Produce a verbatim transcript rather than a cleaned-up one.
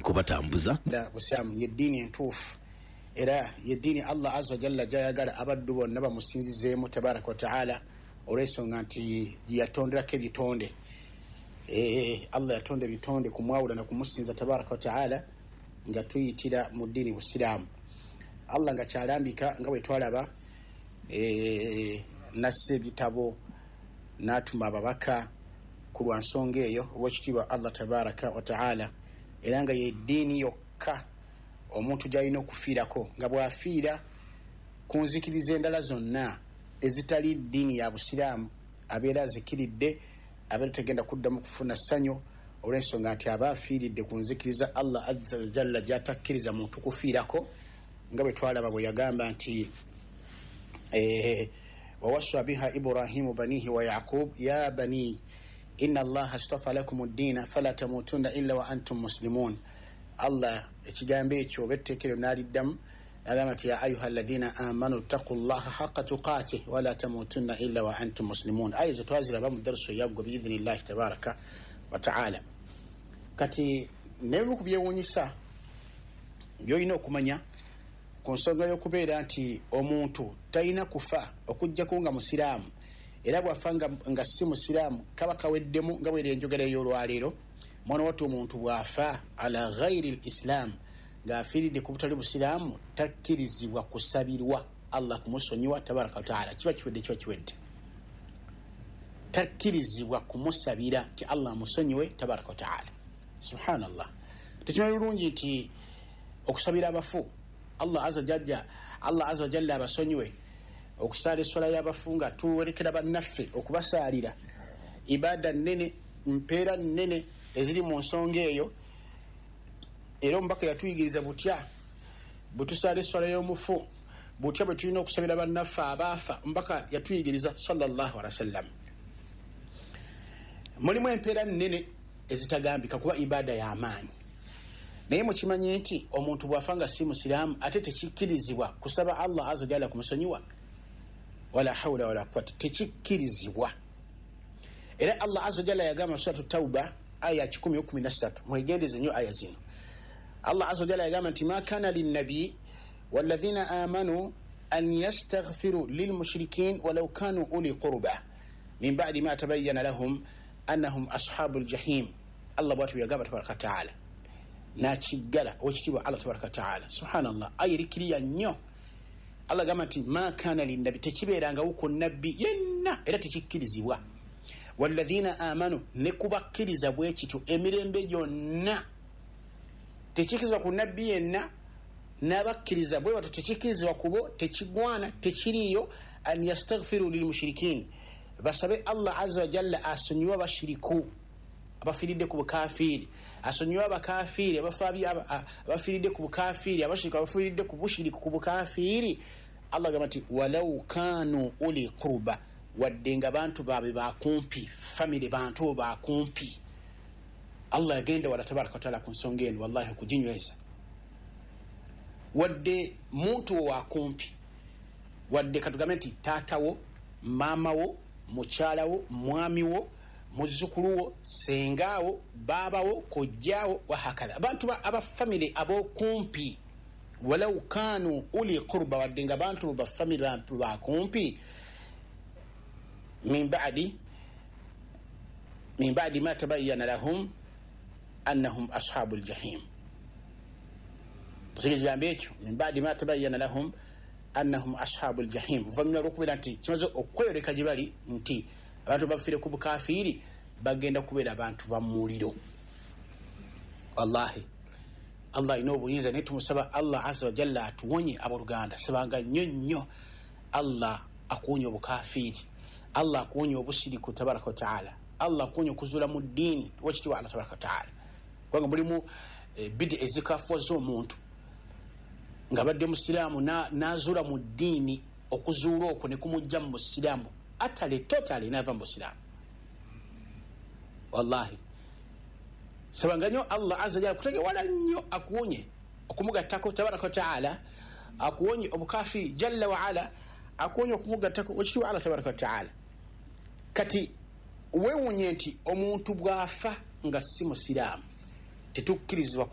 Kubatambuza Busiraamu yeddiini entuufu, era yeddiini Allah azza wajalla gyayagala abaddu bonna bamusinzizeemu tabaraka wataala, olw'ensonga nti gyeyatonderako ebitonde. Allah yatonda ebitonde kumwawula na kumusinza tabaraka wataala nga tuyitira mu ddiini Busiraamu. Allah nga kyalambika nga bwe twalaba, nassa ebitabo n'atuma ababaka ku lwa nsonga eyo owekitiibwa Allah tabaraka wataala, era nga yeddiini yokka omuntu gy'alina okufiirako, nga bw'afiira ku nzikiriza endala zonna ezitali ddiini ya Busiraamu abeera azikiridde, abeera tegenda kuddamu kufuna ssanyu, olw'ensonga nti aba afiiridde ku nzikiriza Allah azza wajalla gy'atakkiriza muntu kufiirako, nga bwe twalaba bwe yagamba nti wawassa biha Ibrahimu banihi wa Yaqub ya bani inna Allaha astafa lakum ddiina fala tamutunna illa wa antum muslimun. Allah ekigambo ekyo oba etteeka eryo n'aliddamu n'agamba nti ya ayuha alladhina amanu ttaqu llaha haqa tuqatih wala tamutunna illa wa antum muslimun. Aya ezo twaziraba mu darusu eyaggwa biidhinillahi tabaraka wa taala. Kati nebimu ku byewuunyisa by'olina okumanya ku nsonga y'okubeera nti omuntu talina kufa okuggyako nga musiraamu, era bw'afa nga, nga si musiraamu kaba kaweddemu, nga bweri enjogera ey'olwaleero. Mwana wattu omuntu bw'afa ala ghairi l-islam, ng'afiiridde ku butali busiraamu, takkirizibwa kusabirwa Allah kumusonyiwa tabaraka wataala. Kiba kiwedde, kiba kiwedde. Takkirizibwa kumusabira nti Allah amusonyiwe tabaraka wataala. Subhanallah. Tukimanyi bulungi nti okusabira abafu Allah azza jalla, Allah azza jalla abasonyiwe, okusaala esswala y'abafu nga tuwerekera bannaffe okubasaalira, ibaada nnene, mpeera nnene eziri mu nsonga eyo. Era omubaka yatuyigiriza butya bwe tusaala esswala y'omufu, butya bwe tulina okusabira bannaffe abaafa. Omubaka yatuyigiriza sallallahu alaihi wasallam. Mulimu empeera nnene ezitagambika kuba ibaada y'amaanyi, naye mukimanye nti omuntu bw'afa nga si musiraamu ate tekikkirizibwa kusaba Allah azza jalla kumusonyiwa, wala hawla wala quwwata, tekikkirizibwa. Era Allah azza jalla yagamba mu Suratu Tauba aya kikumi kumi na ssatu, mwegendeze nnyo aya zino. Allah azza jalla yagamba nti ma kana linnabi walladhina amanu an yastaghfiru lilmushrikin walau kanu uli qurba min ba'di ma tabayyana lahum annahum ashabul jahim. Allah bw'atyo yagamba tabaraka taala, nakiggala owekitiibwa Allah tabaraka taala. Subhanallah, aya eri kiriya nnyo. Allah gamba nti ma kana linnabi, tekibeerangawo ku nabbi yenna, era tekikkirizibwa, walladhina amanu, ne kubakkiriza bwe kityo emirembe gyonna. Tekikkirizibwa ku nabbi yenna n'abakkiriza bwe batyo, tekikkirizibwa ku bo, tekigwana, tekiriiyo. An yastaghfiru lilmushrikin, basabe Allah azza wa jalla asonyiwe abashiriku abafiiridde ku bukafiiri, asonyiwe abakafiiri abafiiridde ku bukafiiri, abashiriku abafiiridde ku bushiriku ku bukafiiri. Allah agamba nti walau kanu uli qurba, wadde nga bantu baabwe bakumpi, famire bantu bakumpi. Allah yagenda wala tabaraka wataala ku nsonga eno, wallahi okuginyweza. Wadde muntu wakumpi, wadde katugambe nti taatawo, maamawo, mukyalawo, mwamiwo, muzzukuluwo, sengaawo, baabawo, kojjaawo, wahakadha, abantu abafamire ab'okumpi. Walau kanu uli qurba, wadde nga bantu bafamire bantu bakumpi, min ba'di min ba'di ma tabayyana lahum annahum ashabul jahim. Ekigambo ekyo min ba'di ma tabayyana lahum annahum ashabul jahim, oluvannyuma lw'okubeera nti kimaze okweyoleka gye bali nti abantu bafiire ku bukafiiri bagenda kubeera abantu ba muliro. Wallahi Allah alina obuyinza, naye tumusaba Allah azza wa jalla atuwonye abooluganda. Sabanga nnyo nnyo Allah akuwonye obukafiiri, Allah akuwonye obusiriku tabaraka wa taala, Allah akuwonye okuzuula mu ddiini owekitiibwa Allah tabaraka wa taala, kubanga mulimu bidi ezikafuwaza omuntu nga badde musiraamu n'azuula mu ddiini, okuzuula okwo ne kumujja mu busiraamu atale totally n'ava mu busiraamu. Wallahi sabanga nnyo Allah azza jalla kutegewala nnyo akuwonye okumugattako tabaraka wa taala, akuwonye obukafiri jalla wa ala, akuwonye okumugattako ekitiibwa Allah tabaraka wa taala. Kati weewuunye nti omuntu bw'afa nga si musiraamu tetukkirizibwa